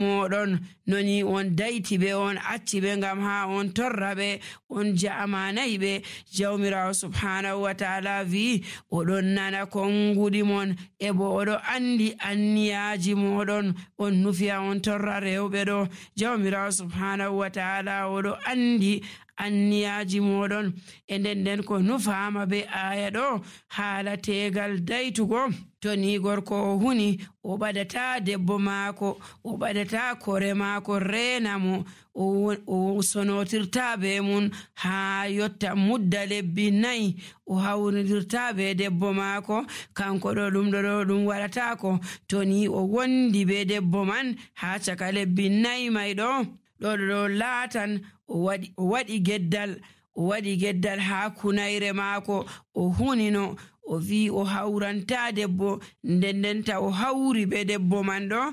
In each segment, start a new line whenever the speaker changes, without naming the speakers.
moɗon noni on dayti ɓe, on acci ɓe ngam ha on torra ɓe, on ja'amanayi ɓe. Jawmirawo subhanahu wa ta'ala wi oɗon nana konguɗi mon e bo oɗo andi anniyaji moɗon on nufiya on torra rewɓe ɗo. Jawmirawo subhanahu wa ta'ala oɗo andi anniyaji moɗon e nden ko nufama be aya ɗo haala tegal daytugo. To ni gorko o huni o ɓadata debbo maako, o ɓadata kore maako rena mo, o sonotirta be mun ha yotta mudda lebbi 4 o hawridirta be debbo maako, kanko ɗo ɗum waɗatako. To ni o wondi be debbo man ha caka lebbi 4 may ɗo laatan o waɗi geddal ha kunayre maako, o hunino o wi o hawranta debbo, ndendenta o hawri be debbo man ɗo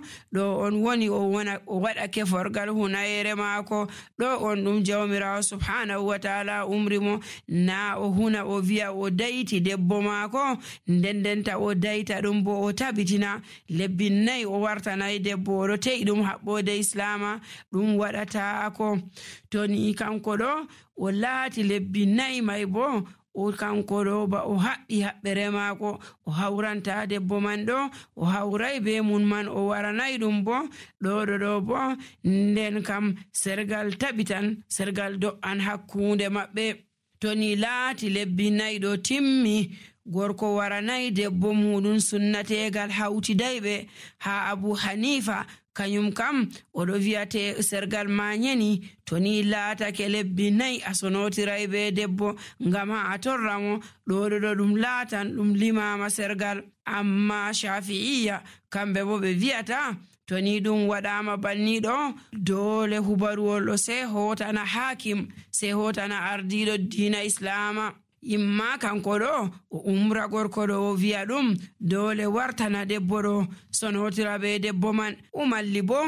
on woni o waɗa keforgal hunayre maako ɗo on ɗum jawmirawo subhanahu wa ta'ala umri mo na o huna o wiya o dayti debbo maako, ndendenta o dayta ɗum bo o tabitina lebbi 4 o wartanayi debbo, oɗo te'i ɗum haɓɓode islama, ɗum waɗatako. To ni kanko ɗo o laati lebbi 4 may bo o kanko ɗo ba o haɓɓi haɓɓere maako, o hawranta debbo man ɗo, o hawray be mun man, o waranayi ɗum bo ɗo bo nden kam sergal tabitan, sergal do'an hakkunde maɓɓe. To ni laati lebbi 4 ɗo timmi, gorko waranayi debbo muɗum sunnategal hawtidayɓe ha Abu Hanifa kanyum kam oɗo wiyate sergal mañeni to ni laatake lebbi 4 a sonotiray be debbo ngam ha a torra mo ɗo ɗum laatan ɗum limama sergal. Amma Shafi'iyya kamɓe bo ɓe wiyata to ni ɗum waɗama banniɗo dole hubaruwol ɗo sai hotana hakim, sai hotana ardiɗo diina islama. Imma kanko ɗo o umra gorko ɗo o wiya ɗum dole wartana debbo ɗo sonotira be debbo man, malli bo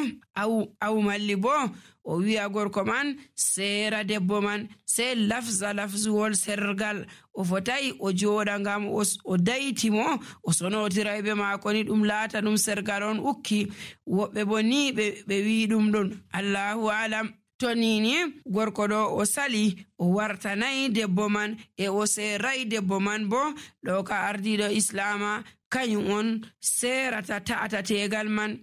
o wiya gorko man sera debbo man, sai lafzuwol sergal o fotai o joɗa ngam o dayti mo o sonotira be maako ni ɗum laata ɗum sergal on ukki. Woɓɓe bo ni ɓe wi ɗum ɗon, Allahu alam. To nini gorko ɗo o sali o wartanayi debbo man e o seray debbo man bo ɗo ka ardiɗo islama kañum on serata ta'ata tegal man,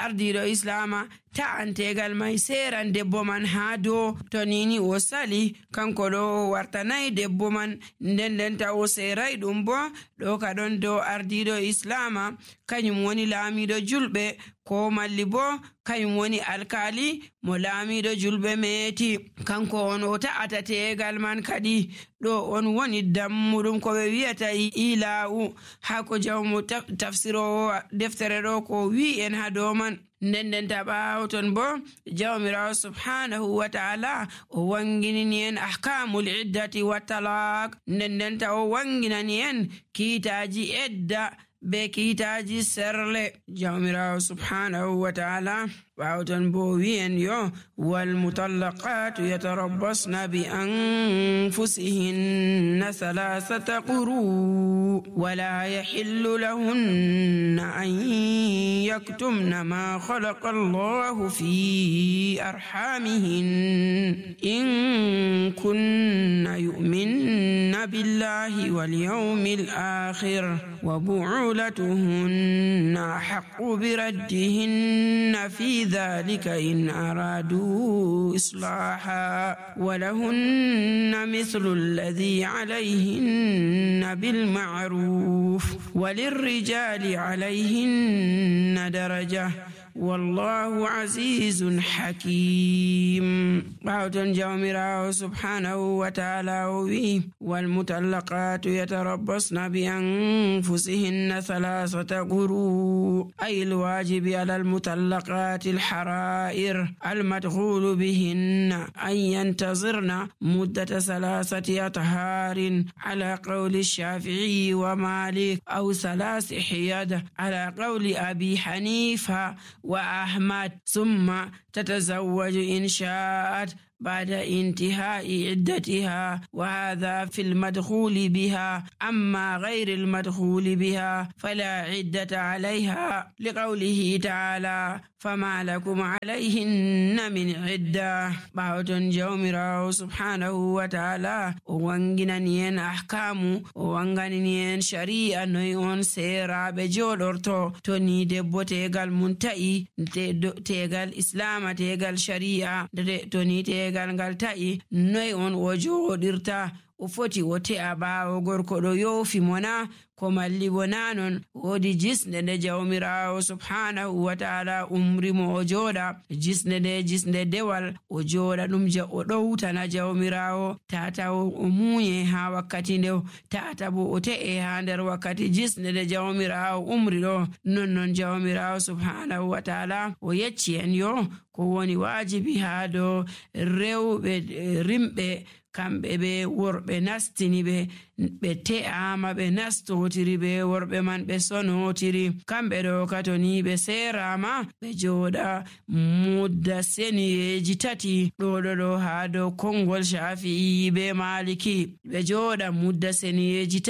ardiɗo islama ta'an tegal may seran debbo man ha dow. To nini o sali kanko ɗo o wartanayi debbo man, ndendenta o seray ɗum bo ɗo ka ɗon dow ardiɗo islama kañum woni laamiɗo julɓe, ko malli bo kañum woni alkali mo laamiɗo julɓe meeti, kanko on o ta'ata tegal man kadi. Ɗo on woni dammuɗum ko ɓe wiyata ila'u ha ko jawmo tafsirowo deftere ɗo ko wi en ha dow man. Ndendenta ɓaawo ton bo jawmirawo subhanahu wa ta'ala o wanginini en ahkamul iddati wa talaq, ndendenta o wanginani en kiitaji edda be kiitaji serle. Jawmirawo subhanahu wa ta'ala ɓaawo ton bo wi'en yo wal mutallaqatu yatarabbasna bi anfusihinna 3 quru wala yahillu lahunna an yaktumna ma khalaqa Allahu fi arhamihin in kunna yu'minna billahi wal yawmil akhir wa bu'ulatuhunna haqqu biraddihinna fi ذلك إن أرادوا إصلاحا ولهن مثل الذي عليهن بالمعروف وللرجال عليهن درجة والله عزيز حكيم. باوتن جawmirawo subhanahu wa ta'ala والمطلقات يتربصن بأنفسهن 3 قروء أي الواجب على المطلقات الحرائر المدخول بهن أن ينتظرن مدة 3 أطهار على قول الشافعي ومالك أو 3 حيض على قول أبي حنيفة وأحمد ثم تتزوج إن شاءت بعد انتهاء عدتها، وهذا في المدخول بها. أما غير المدخول بها فلا عدة عليها، لقوله تعالى: فما لكم عليهن من عدة. باوتون جوميراو سبحانه وتعالى وانغنانين أحكام وانغنانين شريعة نويون سيرا بجولورتو توني دبو تيغال منتأي تيغال إسلام تيغال شريعة توني تيغال غالتأي نويون وجودرتا o foti o te'a ɓaawo gorko ɗo yoofi mona ko malli wona non. woodi jisnde nde jawmirawo subhanahu wa ta'ala umrimo o jooɗa. jisnde nde jisnde dewal o jooɗa ɗum o ɗowtana jawmirawo tata o muuye ha wakkati nde, tata bo o te'e ha nder wakkati jisnde nde jawmirawo umri ɗo. non jawmirawo subhanahu wa ta'ala o yecci en yo ko woni wajibi ha dow rewɓe rimɓe kamɓe ɓe worɓe nastini ɓe te'ama ɓe nastotiri ɓe worɓe man ɓe sonotiri. kamɓe ɗo katoni ɓe serama ɓe jooɗa mudda seniyeji tati. ɗo ha dow kongol Shafi'i be Maliki ɓe jooɗa mudda seniyeji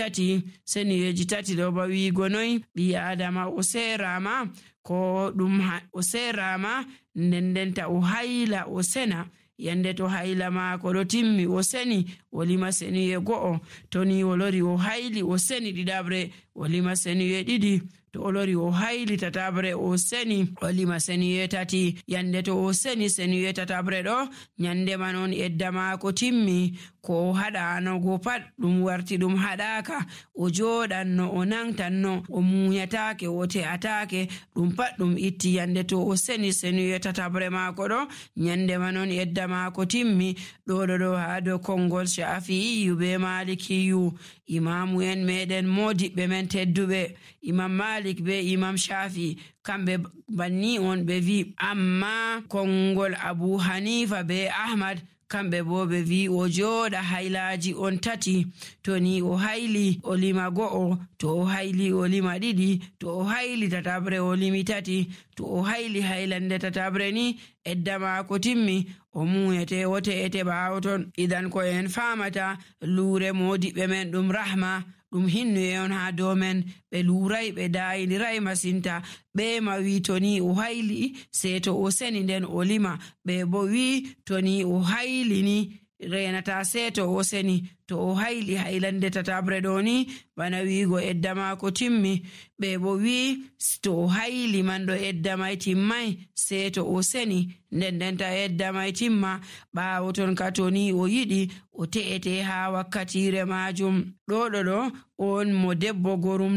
tati ɗo ba wiigo noy ɓi adama o serama ko ɗum o serama ndendenta o hayla o sena. yande to hayla maako ɗo timmi o seni o lima seniye go'o, to ni o lori o hayli o seni ɗiɗabre o lima seniye ɗiɗi, to o lori o hayli tatabre o seni o lima seniye tati. yande to o seni seniye tatabre ɗo nyande man on edda maako timmi. ko o haɗanogo pat ɗum warti ɗum haɗaka, o jooɗanno o nangtanno o munyatake o te'atake, ɗum pat ɗum itti. yande to o seni seniye tatabre maako ɗo nyande man on edda maako timmi. ɗo ha dow kongol Shafi'i be Malikiyu. imamu en meɗen modiɓɓe men tedduɓe Imam Malik be Imam Shafi kamɓe banni on ɓe vi. amma kongol Abu Hanifa be Ahmad kamɓe bo ɓe vi o jooɗa haylaji on tati. to ni o hayli o lima go'o, to o hayli o lima ɗiɗi, to o hayli tatabre o limi tati, to o hayli haylande tatabre ni edda maako timmi o muyete o te'ete ɓaawo ton. idan ko en famata luure modiɓɓe men ɗum rahma ɗum hinnuye on ha dow men. ɓe luuray ɓe dayiniray masinta. ɓe ma wi to ni o hayli sei to o seni nden o lima. ɓe bo wi to ni o hayli ni renata sei to o seni. to o hayli haylande tatabre ɗo ni bana wiigo edda maako timmi. ɓe bo wi to o hayli man ɗo edda may timmay sei to o seni ndendenta edda may timma. ɓaawo ton ka to ni o yiɗi o te'ete ha wakkatire majum. ɗo on mo debbo gorum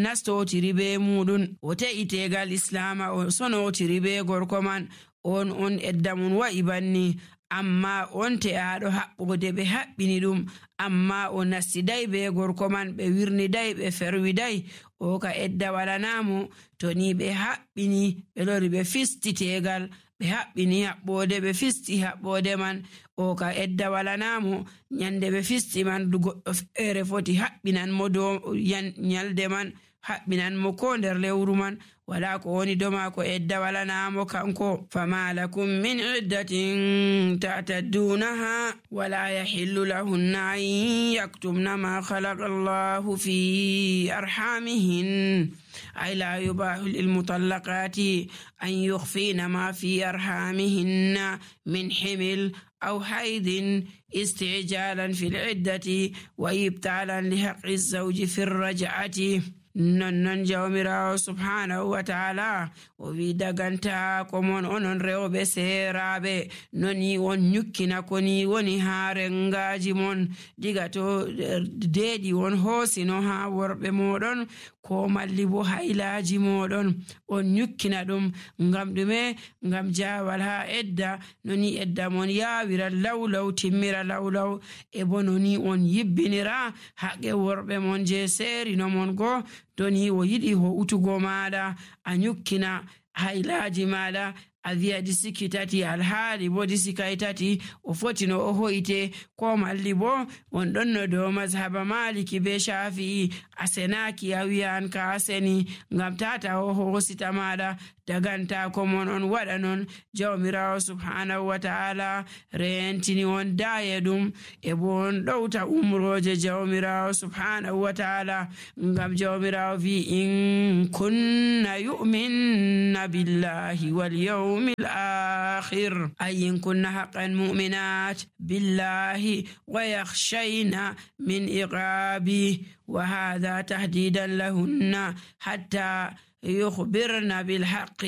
nastotiri be muɗum o te'itegal islama o sonotiri be gorko man on edda mun wa'i banni. amma on te'aɗo haɓɓode ɓe haɓɓini ɗum, amma o nastiday be gorko man ɓe wirniday ɓe ferwiday, o ka edda walanamo. to ni ɓe haɓɓini ɓe lori ɓe fisti tegal ɓe haɓɓini haɓɓode ɓe fisti haɓɓode man, o ka edda walanamo. nyande ɓe fisti man goɗɗo feere foti haɓɓinan mo dow nyalde man, haɓɓinan mo ko nder lewru man, wala ko woni doma ko edda walanamo kanko. fama lakum min iddatin ta'taddunaha wala yahillu lahunna an yaktumna ma khalaqa Allahu fi arhamihin ay la yubahu lil mutallaqati an yukhfina ma fi arhamihinna min himil أو حيض استعجالا في العدة وإبطالا لحق الزوج في الرجعة. non jawmirawo subhanahu wa ta'ala o wi daganta ko mon onon rewɓe seeraɓe noni on nyukkina ko ni woni ha rengaji mon diga to deeɗi on hoosino ha worɓe moɗon ko malli bo haylaji moɗon on nyukkina ɗum ngam ɗume? ngam jawal ha edda noni edda mon yawira lawlaw timmira lawlaw e bo noni on yibbinira haqqe worɓe mon je seerino mon go. to ni o yiɗi ho utugo maɗa a nyukkina haylaji maɗa a wi'a ɗi sikki tati alhaali bo ɗi sikay tati o foti no o hoyte ko malli bo on ɗon no dow mazhaba maliki be shafi'i a senaki a wi'an ka a seni ngam tata o hosita maɗa daganta ko mon on waɗa non. Jawmirawo subhanahu wa ta'ala rentini on daya ɗum e bo on ɗowta umroje jawmirawo subhanahu wa ta'ala ngam jawmirawo wi in kunna yu'minna billahi wal yawmil akhir ay in kunna haqqan mu'minat billahi wa yakhshayna min iqabi wa hadha tahdidan lahunna hatta يخبرنا بالحق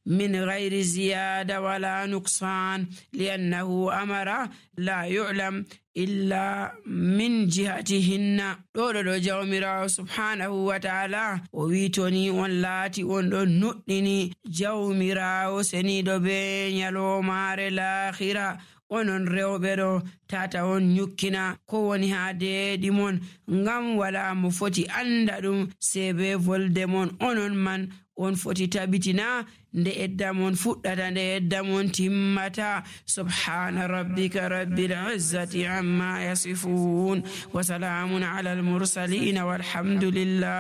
من غير زيادة ولا نقصان لأنه أمر لا يعلم إلا من جهتهن. دولو جوميراو سبحانه وتعالى وويتوني واللاتي وندون نؤنني جوميراو سنيدو بين يلو مار الآخرة onon rewɓe ɗo tata on nyukkina ko woni ha deeɗi mon ngam wala mo foti anda ɗum sei be volde mon onon man on foti tabitina nde edda mon fuɗɗata nde edda mon timmata. Subhana rabbika rabbil izzati amma yasifun wa salamun ala al mursalin walhamdulillah.